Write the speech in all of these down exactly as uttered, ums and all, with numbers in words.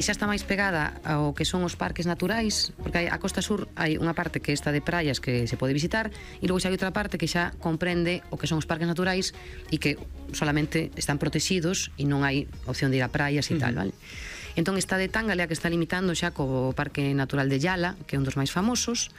xa está máis pegada ao que son os parques naturais, porque hai, a Costa Sur hai unha parte que está de praias que se pode visitar, e logo xa hai outra parte que xa comprende o que son os parques naturais e que solamente están protegidos e non hai opción de ir a praias e tal, vale? Entón está de Tángale a que está limitando xa co Parque Natural de Yala, que é un dos máis famosos,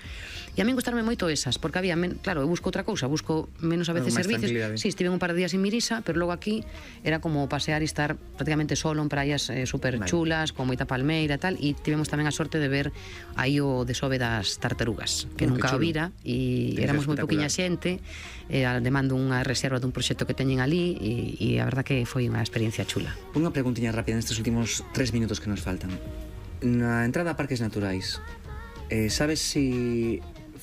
e a min gustarme moito esas, porque había, men, claro, eu busco outra cousa, busco menos a veces servicios. Si, sí, estive un par de días en Mirisa, pero logo aquí era como pasear e estar prácticamente solo en praias eh, super vale. chulas, con moita palmeira e tal, e tivemos tamén a sorte de ver aí o desove das tartarugas, que oh, nunca o vira, e éramos moi poquinha xente, eh, demando unha reserva dun proxecto que teñen ali, e, e a verdad que foi unha experiencia chula. Unha preguntiña rápida nestes últimos tres minutos que nos faltan. Na entrada a parques naturais, eh, sabes si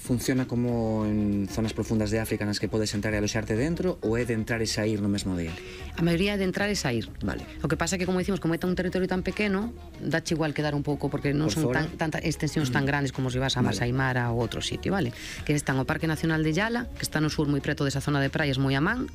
funciona como en zonas profundas de África nas que podes entrar e aloxarte dentro, ou é de entrar e sair no mesmo día? A maioría é de entrar e sair. Vale. O que pasa é que, como dicimos, como é un territorio tan pequeno, dache igual quedar un pouco, porque non son tan, tantas extensións tan grandes como se vas a Masai Mara ou outro sitio, vale? Que están o Parque Nacional de Yala, que está no sur moi preto desa zona de praias moi a man,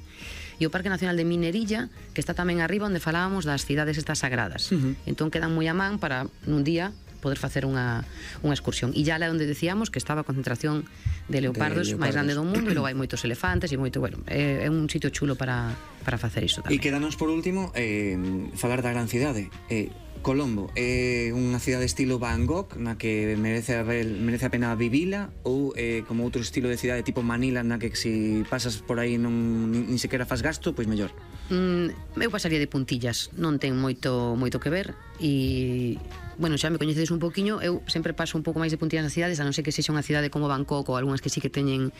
e o Parque Nacional de Minerilla, que está tamén arriba onde falábamos das cidades estas sagradas. Uh -huh. Entón quedan moi a man para nun día poder facer unha, unha excursión. E Yala é onde decíamos que estaba a concentración de leopardos, de leopardos máis grande do mundo, e logo hai moitos elefantes e moito, bueno, é, é un sitio chulo para, para facer isto tamén. E quedanos por último eh, falar da gran cidade. Eh, Colombo é unha cidade estilo Bangkok na que merece a, merece a pena vivila, ou eh, como outro estilo de cidade tipo Manila na que se si pasas por aí non nin, nin sequera faz gasto, pois mellor? Mm, eu pasaría de puntillas, non ten moito moito que ver, e bueno, xa me coñecedes un poquinho, eu sempre paso un pouco máis de puntillas nas cidades, a non ser que sexa unha cidade como Bangkok ou algunhas que sí que teñen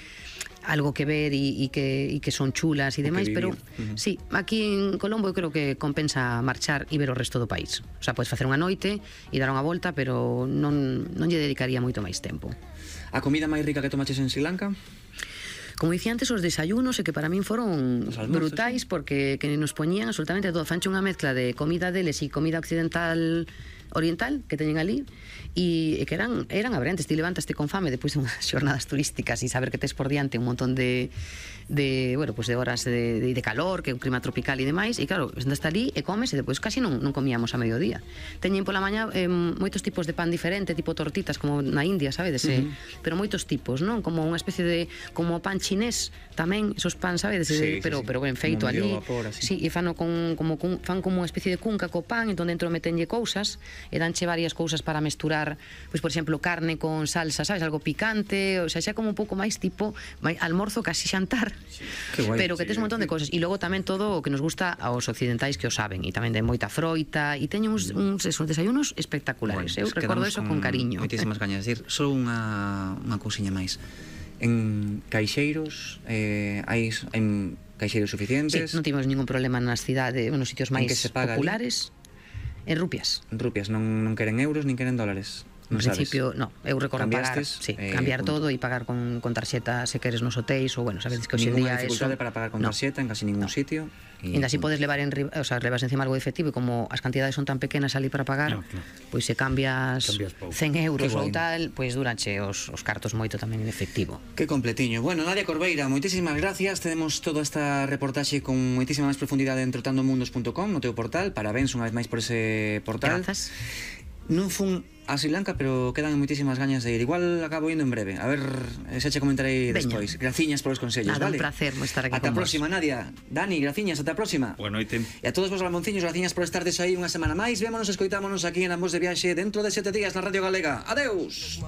algo que ver e, e, que, e que son chulas e demais, pero uh -huh. sí, aquí en Colombo eu creo que compensa marchar e ver o resto do país. O sea, podes facer unha noite e dar unha volta, pero non, non lle dedicaría moito máis tempo. A comida máis rica que tomaches en Sri Lanka? Como dicía antes, os desayunos, e que para min foron brutais, porque que nos poñían absolutamente todo. Fanche unha mezcla de comida deles e comida occidental oriental que teñen ali, e que eran eran abrentes. Ti levantaste con fame depois de unhas xornadas turísticas e saber que tes por diante un montón de de, bueno, pues de horas de, de, de calor, que é un clima tropical e demais, e claro, andas ali e comes, e depois casi non, non comíamos a mediodía. Teñen pola mañá eh, moitos tipos de pan diferente, tipo tortitas, como na India, sabedes? Uh -huh. Pero moitos tipos, non? Como unha especie de, como pan chinés tamén, esos pan, sabedes? Sí, pero, sí, pero ben feito ali. Vapor, sí, e fano con, como, con, fan como unha especie de cunca co pan, entón dentro metenlle cousas, e danche varias cousas para mesturar, pois por exemplo, carne con salsa, sabes? Algo picante, o sea, xa como un pouco máis tipo máis almorzo, casi xantar. Sí. Guai, pero que tes un montón de cosas, e logo tamén todo o que nos gusta aos occidentais, que o saben, e tamén de moita froita, e teñen uns, uns, uns desayunos espectaculares. Bueno, eu recordo eso con, con cariño. Moitísimas gañas. Decir, só unha, unha cousiña máis. En caixeiros eh, hai, hai caixeiros suficientes? Sí, non tivemos ningún problema nas cidades, nos sitios máis populares. Ali? En rupias. En rupias, non, non queren euros, nin queren dólares. En principio, no, eu recordo pagar, sí, eh, cambiar punto. todo e pagar con, con tarxeta se queres nos hotéis, ou bueno, sabedes que hoxe en día eso... dificultade para pagar con no. tarxeta en casi ningún no. sitio. E ainda así podes levar en, o sea, levas encima algo de efectivo, e como as cantidades son tan pequenas ali para pagar, no, claro. Pois se cambias, cambias cen euros ou tal, pois duranche os, os cartos moito tamén en efectivo. Que completiño. Bueno, Nadia Corveira, moitísimas gracias. Tenemos toda esta reportaxe con moitísima máis profundidade en trotandomundos punto com no teu portal. Parabéns unha vez máis por ese portal. Grazas. Non fun a Sri Lanka, pero quedan moitísimas gañas de ir. Igual acabo indo en breve. A ver, xa che comentarei despois. Graciñas polos consellos, Nada, vale? Un placer estar aquí ata con a próxima, vos. Nadia. Dani, graciñas, ata a próxima. Boa noite. E a todos vos ramonciños, graciñas por estardes aí unha semana máis. Vémonos, escoitámonos aquí en Ambos de Viaxe dentro de sete días na Radio Galega. Adeus.